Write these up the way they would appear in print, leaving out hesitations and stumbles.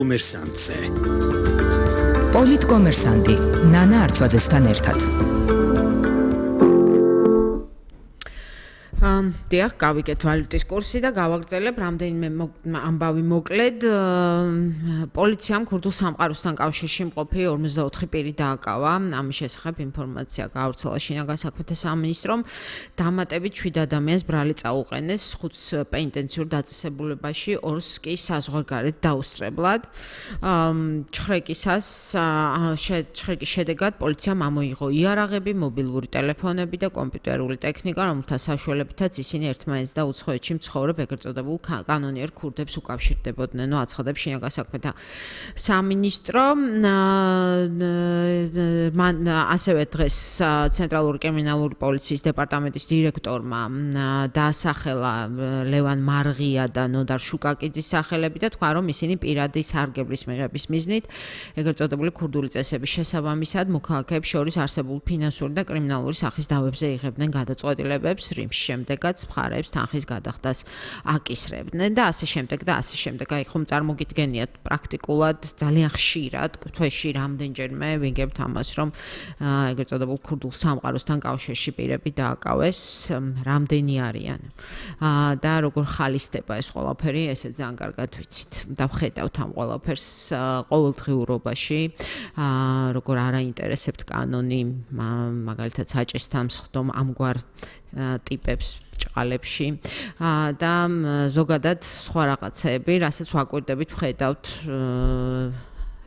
კომერსანტზე. პოლიტკომერსანტი ნანა არჩვაძესთან ერთად. დიახ, გავიგეთ ვალუტის კურსი და გავაგრძელებ რამდენიმე ამბავი მოკლედ. პოლიციამ ქურდულ სამყაროსთან კავშირში მყოფი 54 პირი დააკავა. ამის შესახებ ინფორმაცია გაავრცელა შინაგან საქმეთა სამინისტრომ. დამატებით 7 ადამიანს ბრალი წაუყენეს 5 პენიტენციურ დაწესებულებაში, 2-ს კი საზღვარგარეთ დაუსწრებლად. ჩხრეკის შედეგად პოლიციამ ამოიღო იარაღები, მობილური ტელეფონები და კომპიუტერული ტექნიკა, რომელთა საშუალებითაც ისინი ერთმანეთს და უცხოეთში მცხოვრებ ეგრეთ წოდებულ კანონიერ ქურდებს უკავშირდებოდნენ. აცხადებს შინაგან საქმეთა სამინისტრო. ასევე დღეს ცენტრალური კრიმინალური პოლიციის დეპარტამენტის დირექტორმა დაასახელა ლევან მარღია და ნოდარ შუკაკიძის სახელები და თქვა, რომ ისინი პირადი სარგებლის მიღების მიზნით ეგრეთ წოდებული ქურდული წესების შესაბამისად მოქალაქეებს შორის არსებულ ფინანსური და კრიმინალური სახის დავებზე იღებდნენ გადაწყვეტილებებს, რის შემდეგაც მხარეებს თანხის გადახდას აკისრებდნენ და ასე შემდეგ და ასე შემდეგ. აი ხომ წარმოგიდგენიათ პრაქტიკულად ძალიან ხშირად თვეში რამდენჯერმე ვიგებთ ამას, რომ ეგრეთ წოდებულ ქურდულ სამყაროსთან კავშირში პირები დააკავეს, რამდენი არიან და როგორ ხალისდება ეს ყველაფერი, ესე ძალიან კარგად ვიცით და ვხედავთ ამ ყველაფერს ყოველდღიურობაში, როგორ არაინტერესებთ კანონი, მაგალითად საჭესთან მსხდომ ამგვარ ტიპებს ჭყალებში და ზოგადად სხვა რაღაცები, რასაც ვაკვირდებით, ვხედავთ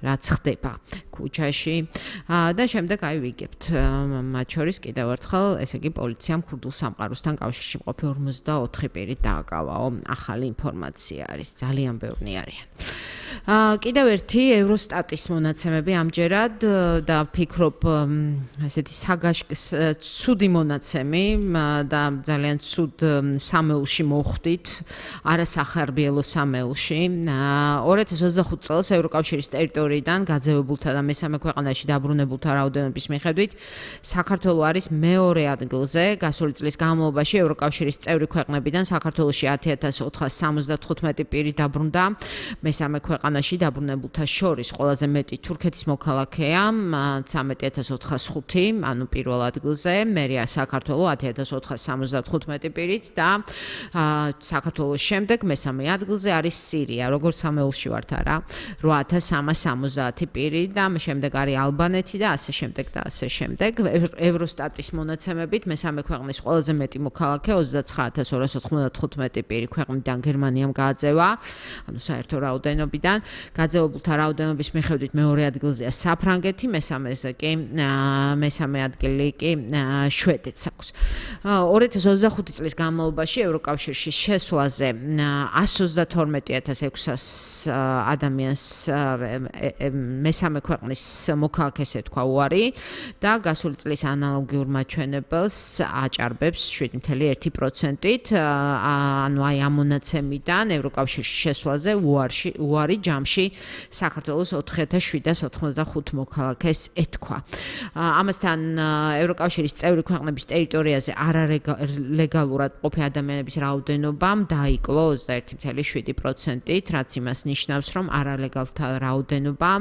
რაც ხდება ქუჩაში და შემდეგ აი ვიგებთ. მათ შორის კიდევ ერთხელ, ესე იგი პოლიციამ ქურდულ სამყაროსთან კავშირში მყოფი 54 პირი დააკავაო. ახალი ინფორმაცია არის, ძალიან ბევრი არიან. კიდევ ერთი ევროსტატის მონაცემები ამჯერად და ვფიქრობ ესეთი ცუდი მონაცემი და ძალიან ცუდ სამეულში მოხვდით, არასახარბიელო სამეულში. 2025 წელს ევროკავშირის ტერიტორიიდან გაძევებულთა და მესამე ქვეყანაში დაბრუნებულთა რაოდენობის მიხედვით საქართველო არის მეორე ადგილზე. გასული წლის განმავლობაში ევროკავშირის წევრი ქვეყნებიდან საქართველოში 10,475 პირი დაბრუნდა. მესამე ქვეყანაში დაბრუნებულთა შორის ყველაზე მეტი თურქეთის მოქალაქეა 13,405, ანუ პირველ ადგილზე, მერია საქართველო 10,475 პირით და საქართველოს შემდეგ მესამე ადგილზე არის სირია, როგორც სამეულში ვართ არა, 8,370 პირი და შემდეგ არის ალბანეთი და ასე შემდეგ და ასე შემდეგ. ევროსტატის მონაცემებით მესამე ქვეყნის ყველაზე მეტი მოქალაქე 29,295 პირი ქვეყნიდან გერმანიამ გააძევა, ანუ საერთო რაოდენობიდან. გაძევებულთა რაოდენობის მიხედვით მეორე ადგილზეა საფრანგეთი, მესამე ადგილი კი შვედეთს აქვს. 2025 წლის განმავლობაში ევროკავშირში შესვლაზე 132,600 ადამიანს მესამე ქვეყნის მოქალაქეს ეთქვა უარი და გასული წლის ანალოგიურ მაჩვენებელს აჭარბებს 7,1%-ით, ანუ აი ამ მონაცემიდან ევროკავშირში შესვლაზე უარი ჯამში საქართველოს 4,785 მოქალაქეს ეთქვა. ამასთან ევროკავშირის წევრი ქვეყნების ტერიტორიაზე არალეგალურად მყოფი ადამიანების რაოდენობამ დაიკლო 21,7%-ით, რაც იმას ნიშნავს, რომ არალეგალთა რაოდენობა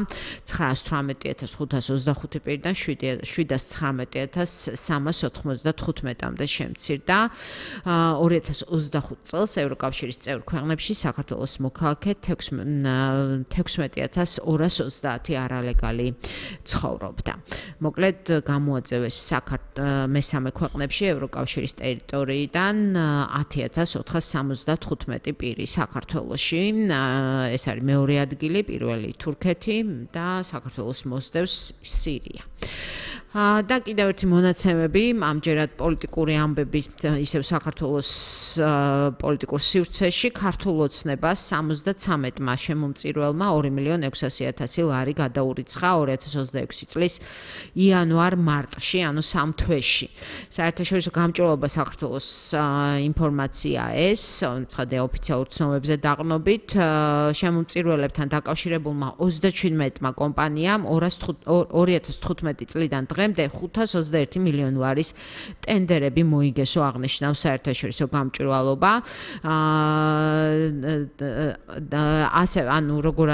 918,525 პირიდან 719,395-მდე შემცირდა. 2025 წელს ევროკავშირის წევრი ქვეყნებში საქართველოს მოქალაქე 16,230 არალეგალი ცხოვრობდა. მოკლედ გამოაწევეს მესამე ქვეყნებში ევროკავშირის ტერიტორიიდან 10,475 პირი საქართველოში. ეს არის მეორე ადგილი, პირველი თურქეთი და საქართველოს მოსდევს სირია. და კიდევ ერთი მონაცემები, ამჯერად პოლიტიკური ამბები, ისევ საქართველოს პოლიტიკურ სივრცეში, ქართულ ოცნებას 73-მა შემომწირველმა 2,600,000 ლარი გადაურიცხა 2026 წლის იანვარ-მარტში, ანუ 3 თვეში. საერთაშორისო გამჭვირვალობა საქართველოს ინფორმაცია ეს, ცხადია ოფიციალურ ცნობებზე დაყრდნობით, შემომწირველებთან დაკავშირებულმა 37-მა კომპანიამ 2015 წლიდან დღემდე 521 მილიონი ლარის ტენდერები მოიგესო, აღნიშნავს საერთაშორისო გამჭვირვალობა. ასე, ანუ როგორ